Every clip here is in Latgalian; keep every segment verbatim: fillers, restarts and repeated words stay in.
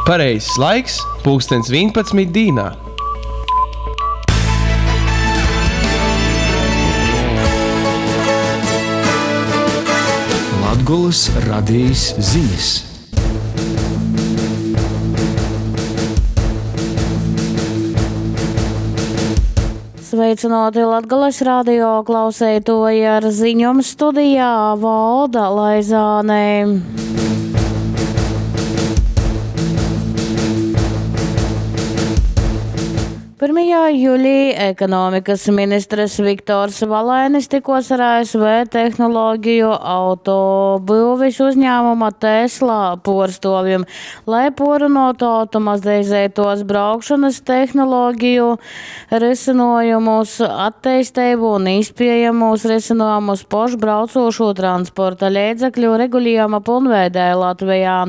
Pareizs laiks – pulkstens vīnpadsmit dīnā. Latgolys radejis zinis. Sveicināti Latgales radio klauseitoji ar ziņom studijā Valda Laizāne. Pirmajā jūlijā ekonomikas ministrs Viktors Valainis tikos ar A S V tehnoloģiju autobyuvis uzņēmuma Tesla puorstovim, lai porunotu automatizētos braukšanas tehnoloģiju risinājumus, attīstību un iespējamos risinājumus pašbraucošo transporta līdzekļu regulējuma pilnveidē Latvijā.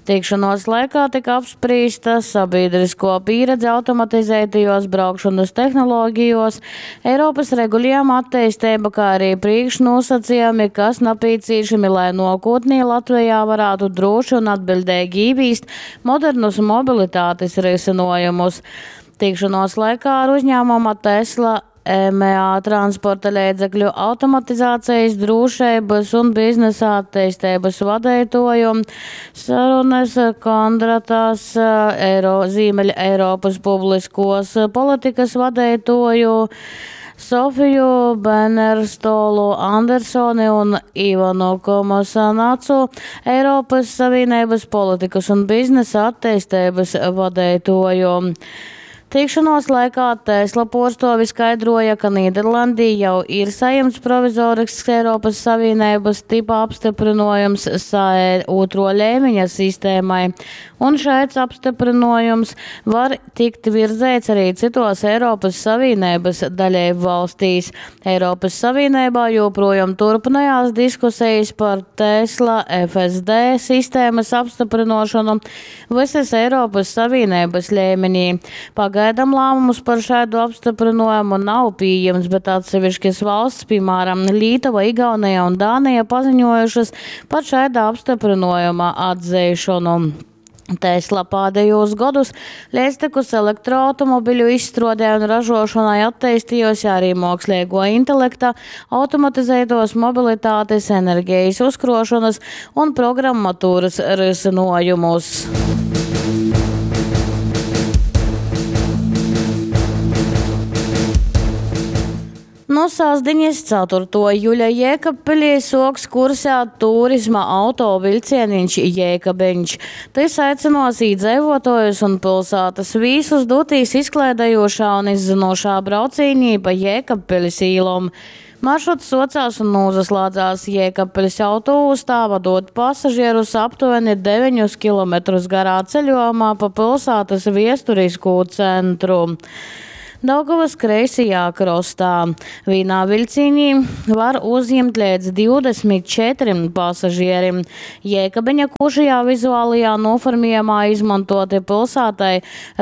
Tikšanos laikā tika apspriesta sabiedrisko pieredze automatizētajos braukšanas tehnoloģijos, Eiropas regulējuma attīstība, kā arī priekšnosacījumi, kas nepieciešami, lai nākotnē Latvijā varētu droši un atbildīgi īvīst modernus mobilitātes risinājumus. Tikšanos laikā ar uzņēmuma Tesla M A transporta līdzekļu automatizācijas, drošības un biznesa attīstības vadītāju sarunas Kondratas Eiro, Ziemeļa Eiropas publiskos politikas vadītāju Sofiju Benerstolu Andersoni un Ivanu Komosanacu, Eiropas Savienības politikas un biznesa attīstības vadītāju. Tikšanos laikā Tesla porstovi skaidroja, ka Nīderlandī jau ir saņemts provizorisks Eiropas Savienības tipa apstiprinojums S A E otro līmeņa sistēmai, un šāds apstiprinojums var tikt virzēts arī citos Eiropas Savienības dalību valstīs. Eiropas Savienībā joprojām turpinājās diskusijas par Tesla F S D sistēmas apstiprinošanu visas Eiropas Savienības līmenī. Pagaidām lēmumus par šādu apstiprinājumu nav pieejams, bet atsevišķas valsts, piemēram, Lietuva, Igaunija un Dānija, paziņojušas par šāda apstiprinājuma atzīšanu. Tesla pēdējos gadus līdztekus elektroautomobiļu izstrādē un ražošanai attīstījusi arī mākslīgo intelekta, automatizētos mobilitātes, enerģijas uzkrošanas un programmatūras risinājumus. No sasdiņas ceturto jūļa Jēkabpilī soks kursēt turisma auto vilcieniņš Jēkabiņš. Tas aicinos īdzīvotājus un pilsētas vīsus dotīs izklaidējošā un izzinošā braucīnī pa Jēkabpilis īlom. Maršruts socās un nozaslēdzās Jēkabpilis autoostā, vadot pasažierus aptuveni deviņus kilometrus garā ceļojumā pa pilsētas viesturisko centru. Daugavas kreisajā krostā. Vienā vilcienī var uzņemt līdz divdesmit četriem pasažierim. Jēkabiņa košajā vizuālajā noformējumā izmantoti pilsētai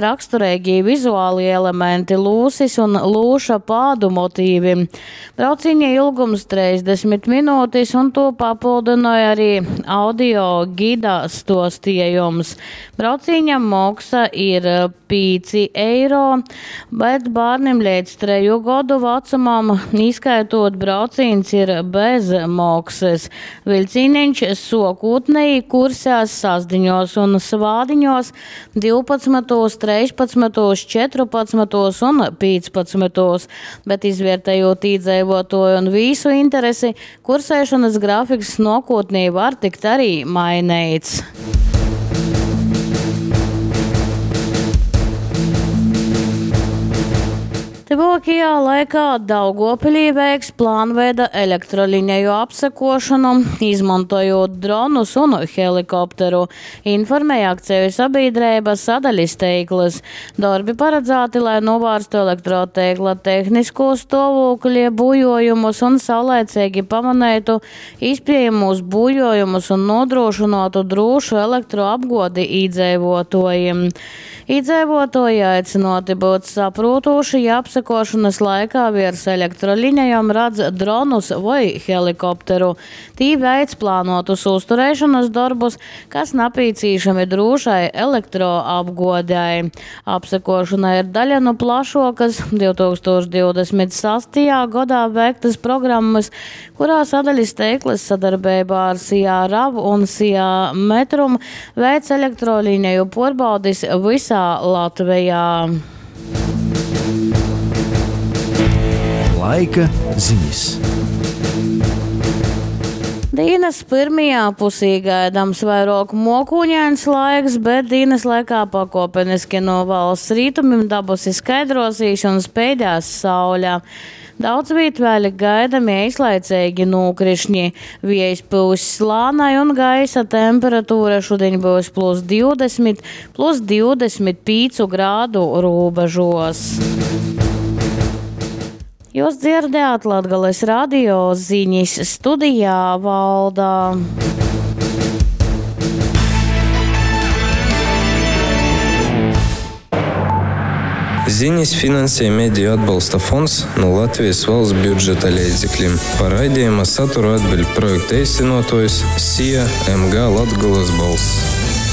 raksturīgi vizuālie elementi lūsis un lūša pādu motīvi. Brauciņa ilgums trīsdesmit minūtes un to papildināja arī audio gida stostījums. Brauciņa moksa ir pieci eiro, bet bērniem līdz treju gadu vecumam, izskaitot brauciens, ir bez maksas. Vilcieniņš sokūtnēji kursēs sasdiņos un svādiņos divpadsmitos, trīspadsmitos, četrpadsmitos un piecpadsmitos, bet izvērtējot iedzīvotāju un visu interesi, kursēšanas grafiks nākotnē var tikt arī mainīts. Tuvākajā laikā Daugavpilī veiks plānveida elektrolineju apsekošanu, izmantojot dronus un helikopteru, informēja akciju sabiedrība Sadaļas teikls. Darbi paredzēti, lai novērstu elektroteikla tehnisko stāvokļa bujojumus un saulēcīgi pamanītu iespējamos bujojumus un nodrošinātu drošu elektroapgādi iedzīvotājiem. Iedzīvotāji aicināti būt saprotoši, ja apsek Apsekuošonys laikā viers elektrolinejom radz dronus voi helikopteru. Tī veic plānuotus uzturēšonys dorbus, kas napīcīšami drūšai elektroapguodei. Apsekuošona ir daļa nu plašuokys divtūkstūš divdesmit sastajā godā veiktys programmys, kurā sadalis teiklys sadarbeibā ar SIA RAV un SIA Metrum veic elektrolineju puorbaudis visā Latvijā. Laika ziņas. Dienas pirmajā pusī gaidāms vairāk mokūņains laiks, bet dienas laikā pakopeniski no valsts rītumim dabusi skaidrosīs un speidēs saule. Daudz viet vēl gaidami eislaicīgi nūkrišņi. Viejs pūs lānai un gaisa temperatūra šodien būs plus divdesmit, plus divdesmit pīcu grādu robežos. Jūs dzirdējāt Latgales radio ziņas studijā Valda. Ziņas finansē Mediju atbalsta fonds no Latvijas valsts budžeta līdzekļiem. Par raidījuma saturu atbild projekta īstenotājs SIA M G Latgolas balss.